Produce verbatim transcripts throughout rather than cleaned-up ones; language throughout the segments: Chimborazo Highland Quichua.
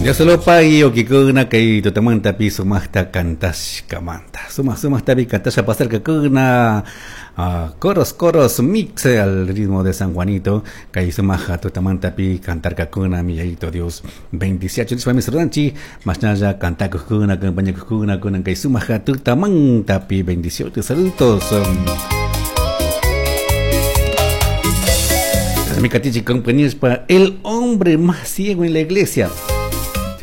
Dios lo pague ukikuna kay tutamantapi sumaqta kantashkamanta. Sumaq sumaqtapi kantasha pasarkakuna uh, coros coros mix al ritmo de San Juanito kay sumaq tutamantapi kantarkakuna mi Yayito Dios bendiciachu nispa misruranchik mashnalla kantakuqkuna compañakuqkuna kunan kay sumaq tutamantapi bendiciones saludos. Mi katichi compañías para el hombre más ciego en la iglesia.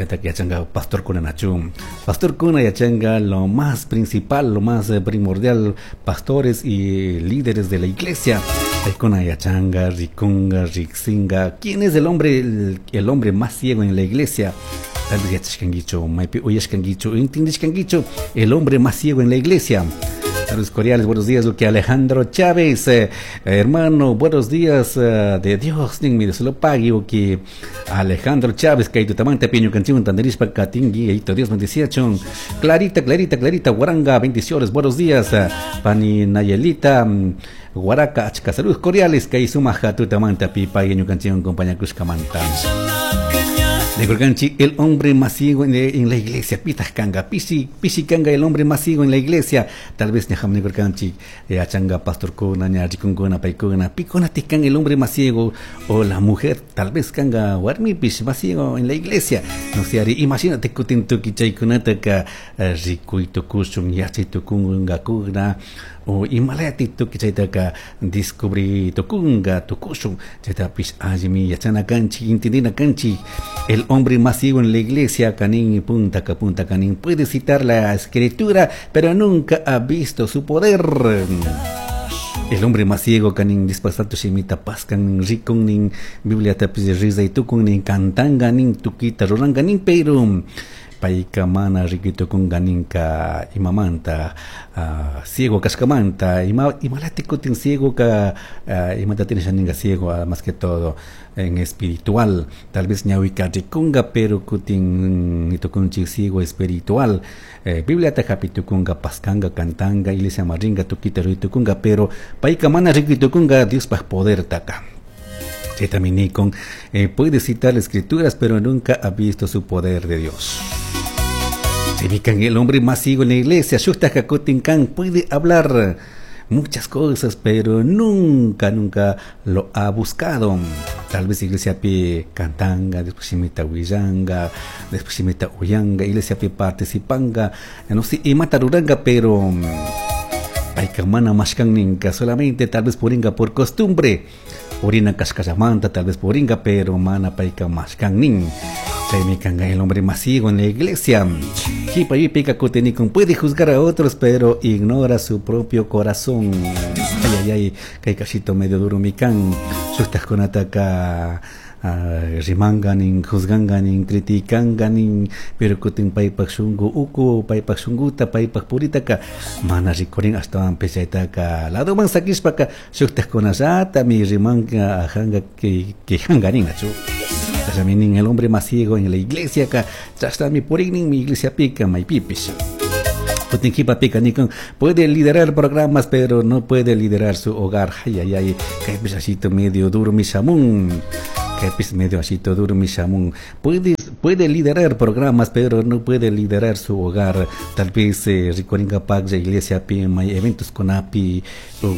Yachanga pastor kuna nachum pastor kuna yachanga lo más principal, lo más primordial, pastores y líderes de la iglesia. Kuna yachanga, rikunga, riksinga. ¿Quién es el hombre el, el hombre más ciego en la iglesia? Tal vez yachashkanguichu, maypi uyashkanguichu, intindishkanguichu, el hombre más ciego en la iglesia. Saludos cordiales, buenos días, lo que Alejandro Chávez, eh, hermano, buenos días eh, de Dios, nin mi se lo pague, o que Alejandro Chávez, que tamante piño canción, tanderispa, catingui, eito Dios bendecía, chon, Clarita, Clarita, Clarita, Guaranga, bendiciones, buenos días, eh, Pani Nayelita, Guaraca, achka, saludos cordiales, que sumaja tutamanta, pipa, y canción, compañía Cruzcamanta. De Gorganchi, el hombre más ciego en, en la iglesia, Pitascanga, Pisi, Pisicanga, el hombre más ciego en la iglesia. Tal vez Nejam de Gorganchi, Achanga, Pastor Kuna, Ñachikunkuna, Paikuna, Picona Tican, el hombre más ciego, o la mujer, tal vez Kanga, Warmi, Pis, más ciego en la iglesia. No sé, Ari, imagínate, Kutintuki, Chaikunataka, Rikuitukushun, Yachitukunga, Kuna, o imalati tuki chaytaka descubrí tukunga tukushun chaytapis allimi yachana kanchik intindina kanchik. El hombre más ciego en la iglesia, canin y punta punta canin, puede citar la escritura pero nunca ha visto su poder. El hombre más ciego canin dispasato shimita pascan rikun nin Biblia tapis riza y tukun nin cantanga nin tukita ruranga nin pero payka mana rikutukunganinka imamanta uh, ciego kashkamanta ima imalati kutin ciego ka uh, imata tiene ciego uh, más que todo en espiritual tal vez ñawika rikunga pero kutin nitukunchik ciego espiritual eh, Biblia ta hapitukunga paskanga cantanga iglesia maringa tukita ritukunga pero payka mana rikutukunga Dios pa poder taka. Con, eh, puede citar las escrituras, pero nunca ha visto su poder de Dios. El hombre más ciego en la iglesia, puede hablar muchas cosas, pero nunca, nunca lo ha buscado. Tal vez iglesia pi cantanga, después imita huillanga, después imita uyanga, iglesia pi participanga, no sé, y mataruranga, pero payka mana mashkan ninka, solamente tal vez puringa por costumbre. Purina kashkashamanta, tal vez puringa, pero mana payka mashkan nin. Chaymi kanga el hombre más ciego en la iglesia. Jipa y pica kutenikun puede juzgar a otros, pero ignora su propio corazón. Ay, ay, ay, kay kashito medio duro mikan. Shuktajkunataka Uh, rimanganin, juzganganin, criticanganin, pero kutin paypak shungu uku, paypak shunguta, paypak puritaka, mana rikurin ashtawan pechaytaka, ladoman sakishpaka, shuktajkunallata mi rimanga ajanga quejanganin, achu. Chashaminin el hombre más ciego en la iglesia ka, chashtami purinin mi iglesia pica, maypipish. Puede liderar programas, pero no puede liderar su hogar. Ay, ay, ay, kay asito medio duro mi shamun. Kay medio asito duro mi shamun. Puede, puede liderar programas, pero no puede liderar su hogar. Tal vez eh, rikuringa pagya iglesia pi may eventos con api,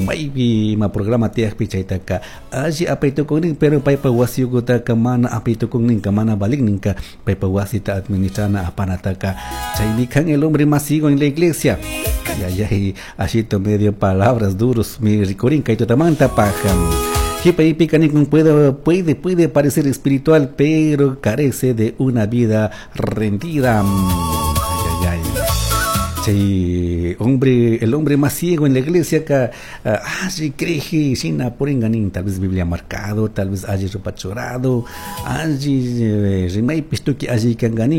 maybe ma programa tiakpi chaytaka. Allí apaytukunin, pero paypa wasiyukutaka mana apaytukunin ka mana baligninka paypa wasita administrana apanataka. Chaymi kan el hombre más ciego en la iglesia. Ay, ay, ay, asito medio palabras duros, mi rikurinka y tutamanta paja. Puede, puede, puede parecer espiritual, pero carece de una vida rendida. Ay, ay, ay. Sí, hombre, el hombre más ciego en la iglesia que ah, sí, cree, sin poringanin, tal vez Biblia marcado, tal vez allí rupachorado, allí rimay pistuki allí kanganin.